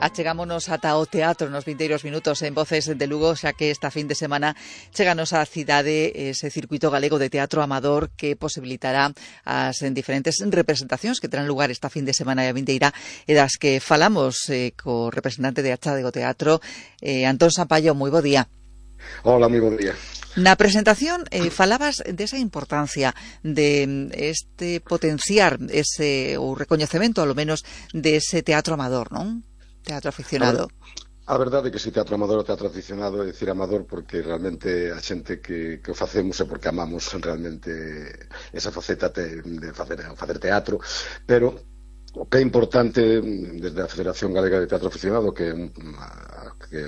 Achegámonos ata o teatro nos vindeiros minutos en Voces de Lugo, xa que esta fin de semana cheganos á cidade ese circuito galego de teatro amador que posibilitará as diferentes representacións que terán lugar esta fin de semana e a vindeira, e das que falamos co representante de Achádego Teatro, Antón Sampaio. Moi bo día. Hola, moi bo día. Na presentación falabas desa importancia de este potenciar ese o recoñecemento, ao menos, de ese teatro amador, non? Teatro aficionado. A verdade é que si teatro amador ou teatro aficionado, é dicir amador porque realmente a xente que o facemos é porque amamos realmente esa faceta de facer teatro, pero o que é importante desde a Federación Galega de Teatro Aficionado, que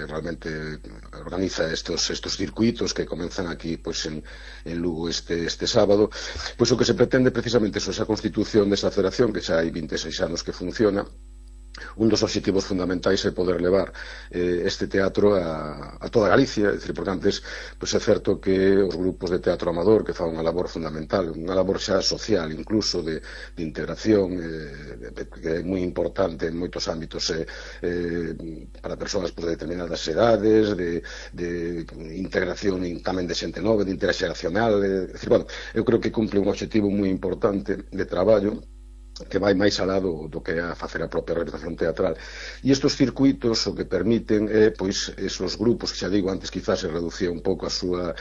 realmente organiza estos circuitos que comenzan aquí pois en Lugo este sábado, pois o que se pretende precisamente é esa constitución desa federación que xa hai 26 anos que funciona. Un dos obxectivos fundamentais é poder levar este teatro a toda Galicia, é dicir, porque antes pois é certo que os grupos de teatro amador que fan unha labor fundamental, unha labor xa social incluso de integración que é moi importante en moitos ámbitos para persoas de determinadas edades, de integración tamén de xente nova, de interxeracional, é dicir, bueno, eu creo que cumple un obxectivo moi importante de traballo que vai máis alá do que é a facer a propia representación teatral. E estes circuitos o que permiten é, pois, esos grupos que xa digo antes quizás se reducía un pouco as súas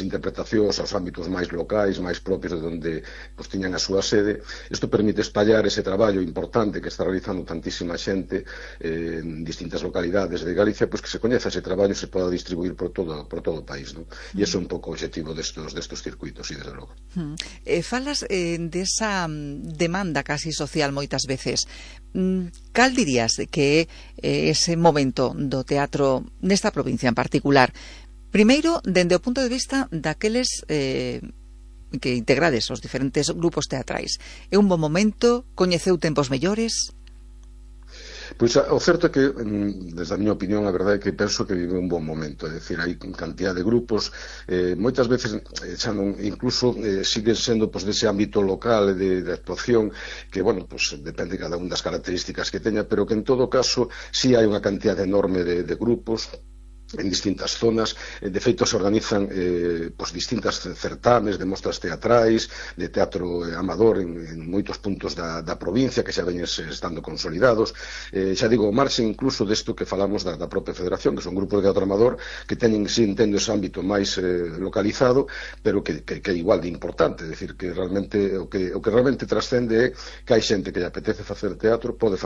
interpretacións aos ámbitos máis locais, máis propios de onde pois, tiñan a súa sede. Isto permite espallar ese traballo importante que está realizando tantísima xente en distintas localidades de Galicia, pois que se coñeza ese traballo e se poda distribuir por todo o país, non? E iso é un pouco o objetivo destes circuitos, e desde logo. Falas desa demanda casi social moitas veces. Cal dirías que é ese momento do teatro nesta provincia en particular? Primeiro, dende o punto de vista daqueles que integrades os diferentes grupos teatrais. É un bon momento? Coñeceu tempos mellores? Pois o certo é que, desde a miña opinión, a verdade é que penso que vive un bon momento, é dicir, hai cantidad de grupos, moitas veces xa non, incluso siguen sendo pois, dese ámbito local de actuación, que, bueno, pois, depende cada un das características que teña, pero que en todo caso sí hai unha cantidad enorme de grupos en distintas zonas. De feito se organizan pois, distintas certames de mostras teatrais, de teatro amador en moitos puntos da provincia que xa veñen estando consolidados, xa digo, o marxe incluso desto que falamos da propia federación, que son grupos de teatro amador que teñen, si entendo, ese ámbito máis localizado, pero que é igual de importante, é dicir, que realmente o que realmente trascende é que hai xente que lle apetece facer teatro, pode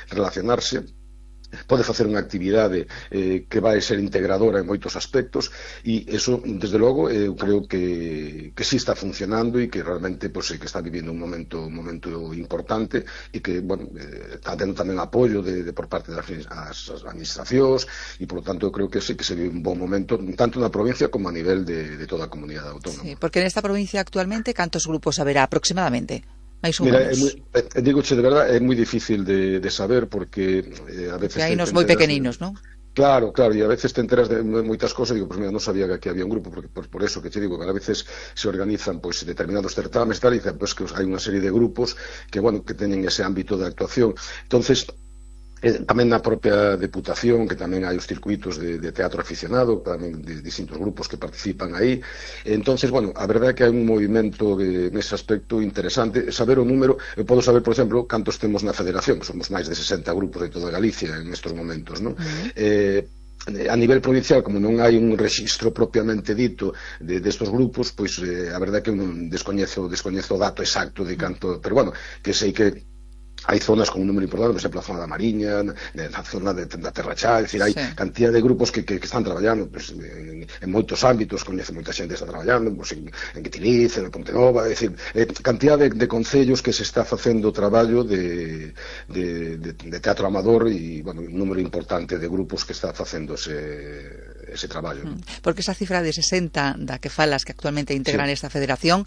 relacionarse, pode facer unha actividade que vai ser integradora en moitos aspectos, e eso, desde logo, eu creo que sí está funcionando e que realmente pois, que está vivindo un momento importante e que, bueno, está tendo tamén apoio por parte das administracións e, por lo tanto, eu creo que sí que se vive un bon momento tanto na provincia como a nivel de toda a comunidade autónoma. Sí, porque nesta provincia actualmente cantos grupos haberá aproximadamente? Mira, digoche de verdad, é moi difícil de saber porque a veces hai nos moi pequeninos, non? Claro, e a veces te enteras de moitas cosas e digo, pois mira, non sabía que aquí había un grupo, porque por eso que te digo, que a veces se organizan pois determinados certames tal, e pois que hai unha serie de grupos que, bueno, que teñen ese ámbito de actuación. Entonces, tamén na propia Deputación, que tamén hai os circuitos de teatro aficionado, tamén de distintos grupos que participan aí. Entonces, bueno, a verdade é que hai un movimento nese aspecto interesante. Saber o número, eu podo saber, por exemplo, cantos temos na Federación, que somos máis de 60 grupos de toda Galicia en estes momentos, non? A nivel provincial, como non hai un rexistro propiamente dito destes grupos, pois a verdade é que eu non descoñezo o dato exacto de canto, pero bueno, que sei que hai zonas con un número importante, por exemplo, a zona da Mariña, na zona da Terra Chá, é dicir, hai cantidad de grupos que están traballando pues, en moitos ámbitos, coñece moita xente que está traballando, pues, en Guitiriz, en Pontenova, é dicir, cantidad de concellos que se está facendo traballo de teatro amador e, bueno, un número importante de grupos que está facendo ese traballo. Porque esa cifra de 60 da que falas que actualmente integran esta federación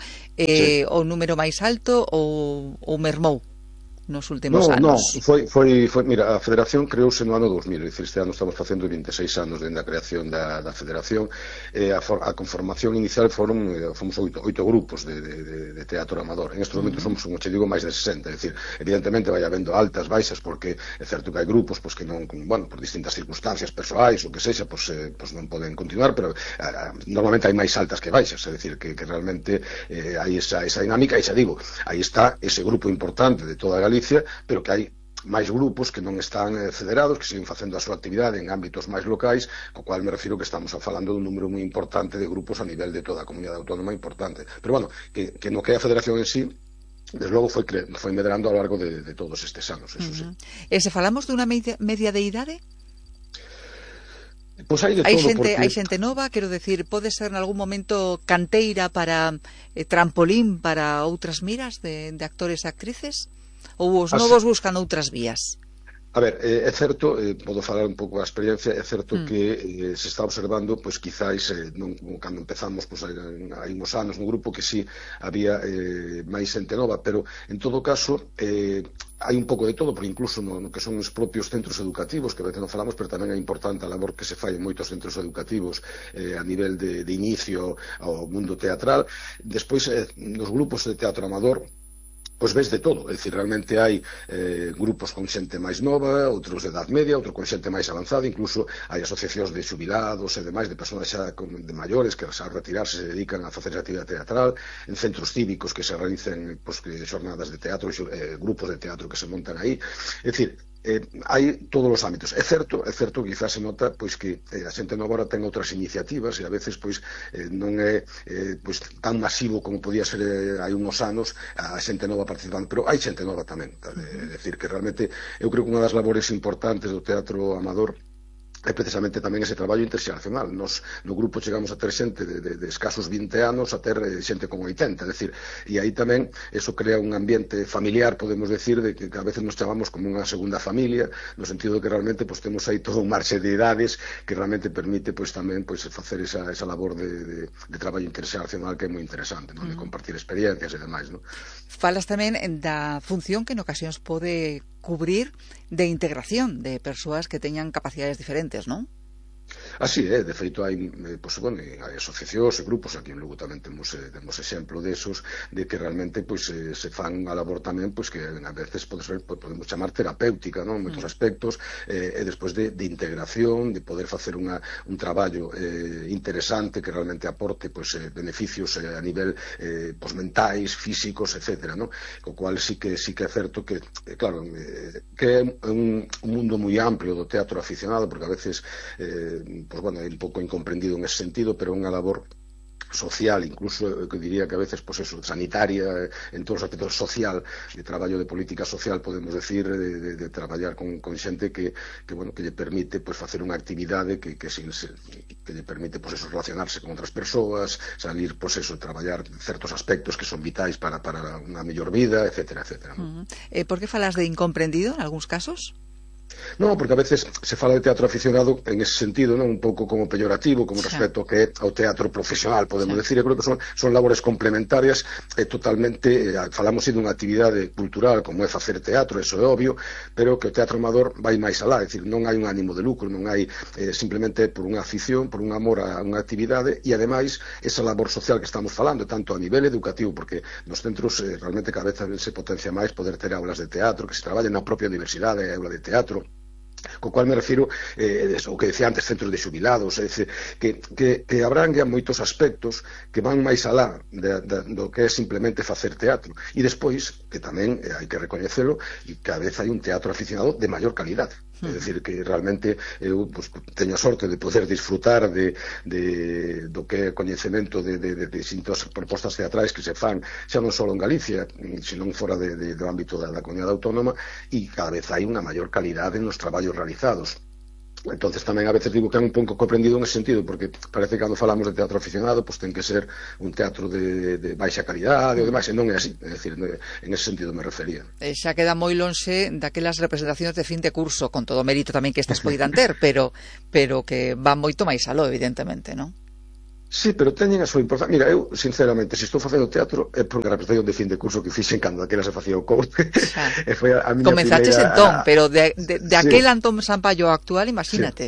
o número máis alto ou mermou? nos últimos anos? Mira, a Federación creouse no ano 2000, este ano estamos facendo 26 anos dende a creación da Federación. A conformación inicial fomos 8 grupos de teatro amador. En estes momentos somos, como che digo, máis de 60, é dicir, evidentemente vai habendo altas, baixas, porque é certo que hai grupos que non, bueno, por distintas circunstancias persoais, o que sexa, non poden continuar, pero normalmente hai máis altas que baixas, é dicir, que realmente hai esa dinámica, e xa digo, aí está ese grupo importante de toda Galicia, pero que hai máis grupos que non están federados, que siguen facendo a súa actividade en ámbitos máis locais, co cual me refiro que estamos falando dun número moi importante de grupos a nivel de toda a comunidade autónoma importante. Pero bueno, que no que é a federación en sí, desde logo foi medrando ao largo de todos estes anos, eso sí. E se falamos dunha media de idade? Pois hai de todo, hai xente nova, quero decir, pode ser en algún momento canteira para trampolín para outras miras de actores e actrices? Ou os novos buscan outras vías? A ver, é certo, podo falar un pouco da experiencia, é certo que se está observando, pois quizáis, cando empezamos, pois hai uns anos no grupo que sí había máis xente nova, pero en todo caso hai un pouco de todo, porque incluso no que son os propios centros educativos, que a veces non falamos, pero tamén é importante a labor que se fai en moitos centros educativos a nivel de inicio ao mundo teatral. Despois, nos grupos de teatro amador, pois ves de todo, é dicir, realmente hai grupos con xente máis nova, outros de edad media, outros con xente máis avanzada, incluso hai asociacións de xubilados e demais, de persoas xa de maiores que ao retirarse se dedican a facer actividade teatral, en centros cívicos que se realicen xornadas de teatro, grupos de teatro que se montan aí, é dicir, hai todos os ámbitos. É certo que quizás se nota pois que a xente nova agora ten outras iniciativas e a veces pois non é pois tan masivo como podía ser hai uns anos a xente nova participando, pero hai xente nova tamén, é dicir, que realmente eu creo que unha das labores importantes do teatro amador é precisamente tamén ese traballo interxeracional. Nos no grupo chegamos a ter xente de escasos 20 anos a ter xente con 80, é dicir, e aí tamén eso crea un ambiente familiar, podemos decir, de que a veces nos chamamos como unha segunda familia, no sentido de que realmente pues, temos aí todo un marxe de idades que realmente permite pues, tamén pues, facer esa labor de traballo interxeracional que é moi interesante, non? De compartir experiencias e demais, non? Falas tamén da función que en ocasións pode cubrir de integración de persoas que teñan capacidades diferentes, non? Así é, de feito hai, pois, bueno, hai asociacións e grupos, aquí en Lugo tamén temos exemplo desos, de que realmente pois, se fan a labor tamén pois, que a veces podemos chamar terapéutica, non? En moitos aspectos, e despois de integración, de poder facer un traballo interesante que realmente aporte pois, beneficios a nivel pois, mentais, físicos, etc. Non? Co cual sí que é certo que, claro, que é un mundo moi amplio do teatro aficionado, porque a veces pues bueno, é un pouco incomprendido en ese sentido, pero é unha labor social, incluso que diría que a veces pues eso, sanitaria, en todos os aspectos social, de traballo de política social, podemos decir, de traballar con xente que bueno, que lle permite pues, facer unha actividade que lle permite pues, eso, relacionarse con outras persoas, salir, pues eso, traballar certos aspectos que son vitais para unha mellor vida, etcétera, etcétera. Por que falas de incomprendido en algúns casos? Non, porque a veces se fala de teatro aficionado en ese sentido, non, un pouco como peyorativo, como respecto que é ao teatro profesional, podemos decir. Eu creo que son labores complementarias e totalmente, falamos de unha actividade cultural como é facer teatro, eso é obvio, pero que o teatro amador vai máis alá, é dicir, non hai un ánimo de lucro, non hai simplemente por unha afición, por un amor a unha actividade e ademais esa labor social que estamos falando, tanto a nivel educativo, porque nos centros realmente cada vez se potencia máis poder ter aulas de teatro, que se traballen na propia universidade, aula de teatro, co cual me refiro o que decía antes, centros de xubilados, é dicir, que abranguean moitos aspectos que van máis alá do que é simplemente facer teatro, e despois que tamén hai que recoñecelo, e cada vez hai un teatro aficionado de maior calidade. É dicir, que realmente eu pues, teño a sorte de poder disfrutar do que é coñecemento de distintas propostas teatrais que se fan xa non só en Galicia, senón fora do ámbito da comunidade autónoma, e cada vez hai unha maior calidade nos traballos realizados. Entonces tamén a veces digo que é un pouco comprendido en ese sentido, porque parece que cando falamos de teatro aficionado pues ten que ser un teatro de baixa calidade e demais, e non é así, é dicir, en ese sentido me refería. Xa queda moi lonxe daquelas representacións de fin de curso, con todo o mérito tamén que estas poidan ter, pero que van moito máis aló, evidentemente, non? Sí, pero teñen a súa importancia. Mira, eu, sinceramente, se estou facendo teatro é porque a representación de fin de curso que fixen cando aquela se facía o courte Xa. e foi a miña Comenzaches entón, primeira... pero de Sí, aquel Antón Sampaio actual, sí. imagínate.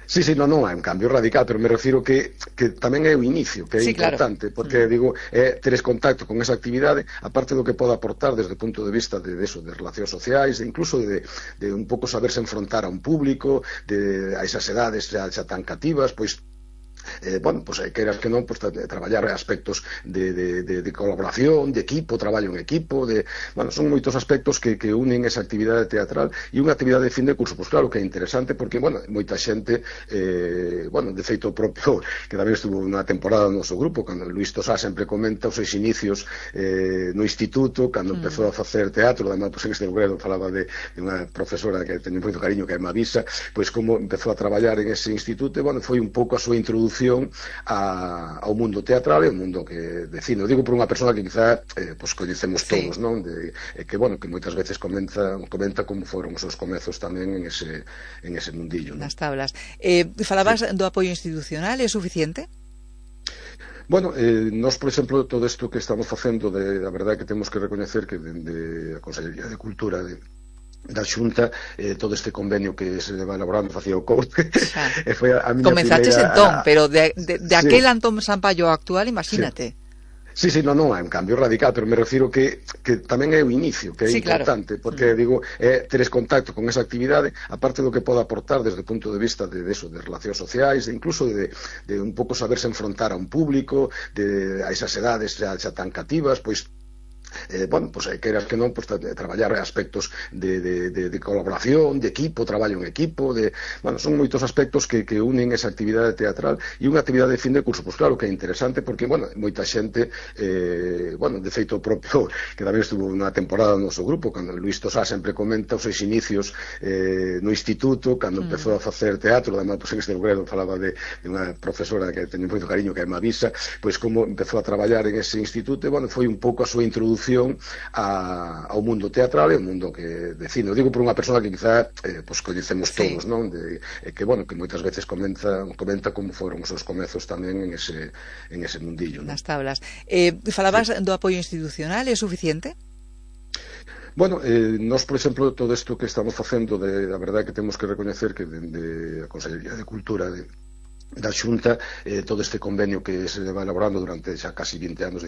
Sí, sí, non é un cambio radical, pero me refiro que tamén é o inicio, que é Sí, claro. importante, porque, digo, teres contacto con esa actividade, aparte do que pode aportar desde o punto de vista de eso, de relacións sociais, de incluso de un pouco saberse enfrontar a un público, a esas edades xa tan cativas, pois bueno, pues queiras que non, pues, traballar aspectos de colaboración, de equipo, traballo en equipo, bueno, son moitos aspectos que unen esa actividade teatral e unha actividade de fin de curso, pues claro que é interesante porque, bueno, moita xente, bueno, de feito propio, que tamén estuvo unha temporada no noso grupo, cando Luís Tosá sempre comenta os seus inicios no instituto, cando empezou a facer teatro, además, pues en este lugar falaba de unha profesora que teño moito cariño, que é Mavisa, pois como empezou a traballar en ese instituto, e, bueno, foi un pouco a súa introducción ao mundo teatral e ao mundo de cine. O digo por unha persona que quizá pues, coñecemos todos, non? Que, bueno, que moitas veces comenta como foron os seus comezos tamén en ese mundillo, non? Nas tablas. Falabas do apoio institucional, é suficiente? Bueno, nós, por exemplo, todo isto que estamos facendo, a verdade que temos que recoñecer que dende a Consellería de Cultura da Xunta, todo este convenio que se va elaborando facía o courte e foi a miña Comenzaches primeira... entón, pero de Sí. aquel Antón Sampaio actual, imagínate. Sí, sí, non é un cambio radical, pero me refiro que tamén é o inicio, que é importante, claro. Porque, digo, teres contacto con esa actividade, aparte do que pode aportar desde o punto de vista de relacións sociais, incluso de un pouco saberse enfrontar a un público, a esas edades xa tan cativas, pois bueno, pues queiras que non, pues, traballar aspectos de colaboración, de equipo, traballo en equipo, bueno, son moitos aspectos que unen esa actividade teatral e unha actividade de fin de curso, pues claro que é interesante porque, bueno, moita xente, bueno, de feito propio, que tamén estuvo unha temporada no noso grupo, cando Luís Tosá sempre comenta os seus inicios no instituto, cando empezou a facer teatro, además, pues en este lugar falaba de unha profesora que teño moito cariño, que é Mavisa, pois como empezou a traballar en ese instituto, e, bueno, foi un pouco a súa introducción ao mundo teatral e ao mundo de cine. O digo por unha persona que quizá pues, coñecemos todos, non? Que, bueno, que moitas veces comenta como foron os seus comezos tamén en ese mundillo, non? Nas tablas. Falabas do apoio institucional, é suficiente? Bueno, nós, por exemplo, todo isto que estamos facendo, a verdade que temos que recoñecer que dende a Consellería de Cultura da Xunta, todo este convenio que se va elaborando durante xa casi 20 anos